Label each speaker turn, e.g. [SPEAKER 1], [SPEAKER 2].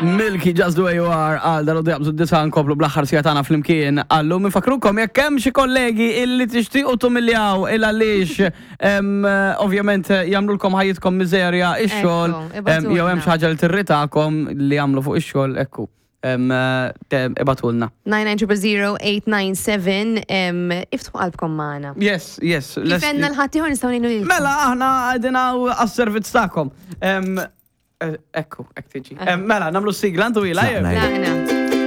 [SPEAKER 1] Milky Just The Way You Are għal dal jaqbżu d-disa nkomplu bl-aħħar sija tagħna flimkien għallu minfakrukom jekk hemm xi kollegi illi tixtiequ tumiljaw il għaliex ovvjament jagħmlulkom ħajjitkom miżerja ix-xogħol jew hemm xi ħaġa li tirritakom li jagħmlu fuq ix-xogħol ekku. Ibatulna.
[SPEAKER 2] 9900897 iftħu qalbkom magħna.
[SPEAKER 1] Yes, yes.
[SPEAKER 2] Kif għenna l-ħaddieħor nistgħu ngħinu lilkom.
[SPEAKER 1] Mela aħna qegħdin għas-servizz tagħkom. Ekku, ek tiġi. Mela, namlu sigla, ntu ila.
[SPEAKER 2] Tlaqna.